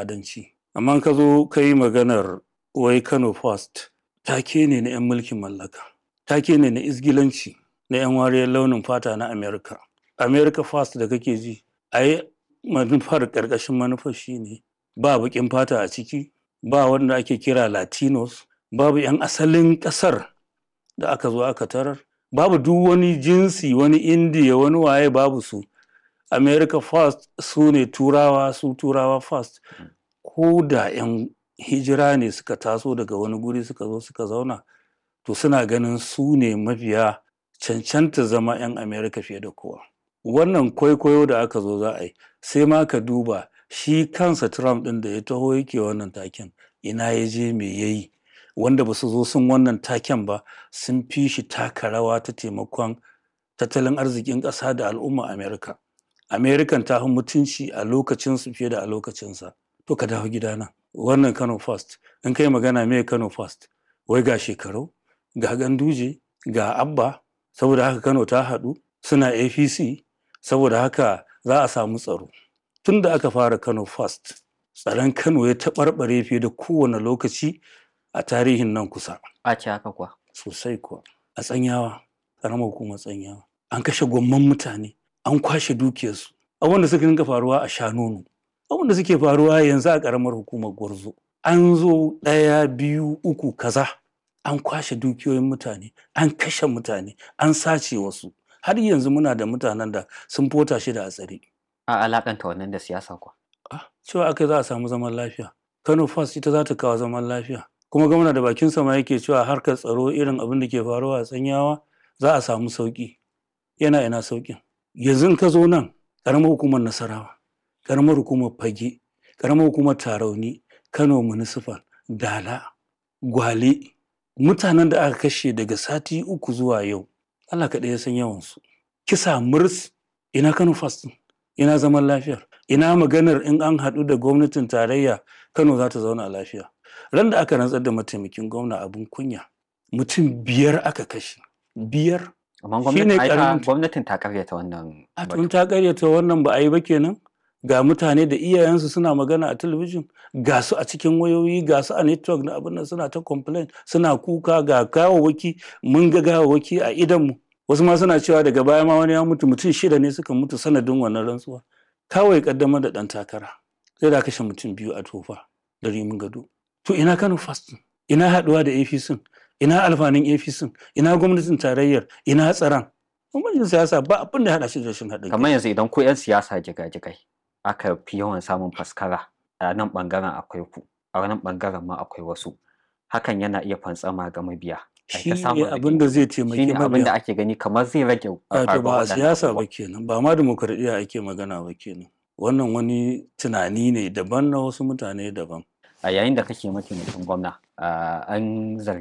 Fadanci. Amma ka zo ka yi maganar wai Kano First, take ne na 'yan mulkin mallaka, take ne na izgilanci na 'yan wariyar launin fata na America. America First da kake ji, ai manufar ƙarƙashin manufar shine ba baƙin fata a ciki, ba wanda ake kira Latinos, babu 'yan asalin ƙasar da aka zo aka tarar, babu duk wani jinsi, wani Indiya, wani waye babu su. America First su ne Turawa, su Turawa First. Ko da 'yan hijira ne suka taso daga wani guri suka zo suka zauna, to suna ganin su ne mafiya cancanta zama 'yan America fiye da kowa. Wannan kwaikwayo da aka zo za a yi, sai ma ka duba shi kansa Trump ɗin da ya taho yake wannan taken, ina ya je me ya yi, wanda ba su zo sun wannan taken ba sun fi shi taka rawa ta taimakon tattalin arzikin ƙasa da al'umma America. American ta fi mutunci a lokacinsu fiye da a lokacinsa. To ka dawo gidana. Wannan Kano First, in kai magana me Kano First, wai ga Shekaru, ga Ganduje, ga Abba, saboda haka Kano ta haɗu, suna APC, saboda haka za a samu tsaro. Tun da aka fara Kano First, tsaron Kano ya taɓarɓare fiye da kowane lokaci a tarihin nan kusa. A ce haka kuwa. Sosai kuwa. A Tsanyawa, ƙaramar hukumar Tsanyawa, an kashe gwamman mutane, an kwashe dukiyarsu. Abubuwan da suka dinga faruwa a Shanono, abubuwan da suke faruwa yanzu a ƙaramar hukumar Gwarzo. An zo ɗaya, biyu, uku, kaza. An kwashe dukiyoyin mutane, an kashe mutane, an sace wasu. Har yanzu muna da mutanen da sun fota shida a tsare. A alakanta wannan da siyasa kuwa. Ah, cewa aka za a samu zaman lafiya. Kano First ita za ta kawo zaman lafiya. Kuma gwamna da bakinsa ma yake cewa harkar tsaro irin abin da ke faruwa a Tsanyawa za a samu sauƙi. Yana ina sauƙin. Yanzu in ka zo nan, ƙaramar hukumar Nasarawa, ƙaramar hukumar Fage, ƙaramar hukumar Tarauni, Kano Municipal, Dala, Gwale, mutanen da aka kashe daga sati 3 zuwa yau, Allah kaɗai ya san yawansu. Kisa murs, ina Kano First ɗin? Ina zaman lafiyar? Ina maganar in an haɗu da gwamnatin tarayya Kano za ta zauna lafiya? Ran da aka rantsar da mataimakin gwamna abin kunya, mutum 5 aka kashe. 5. Amma Shi ne gwamnati ai ta ƙaramin gwamnatin ta karyata wannan A batu. tun ta karyata wannan ba a yi ba kenan. Ga mutane da iyayensu suna magana a talabijin, ga su a cikin wayoyi, ga su a network na abin nan suna ta complain, suna kuka ga gawawwaki, mun ga gawawwaki a idonmu. Wasu ma suna cewa daga baya ma wani ya mutu, mutum 6 ne suka mutu sanadin wannan rantsuwa. Kawai ƙaddamar da ɗan takara. Sai da aka kashe mutum 2 a Tofa da Rimin Gado. To ina Kano First ɗin? Ina haɗuwa da APC? Ina alfanun APC? Ina gwamnatin tarayyar? Ina tsaron? Bambancin siyasa ba abin da ya haɗa shi da rashin haɗin kai. Kamar yanzu idan ku 'yan siyasa jigajigai aka fi yawan samun faskara a nan ɓangaren akwai ku, a wannan ɓangaren ma akwai wasu. Hakan yana iya fantsama ga mabiya. Ai Shi ta ne samun abin da rigingimu. zai Shi taimaki ne abin da mabiya. ake gani kamar zai rage Wato faruwar ba a waɗannan siyasa ba abubuwan. kenan, ba ma dimokuraɗiyya ake magana ba kenan. Wannan wani tunani ne daban na wasu mutane daban. A yayin da kake mataimakin gwamna, an zargi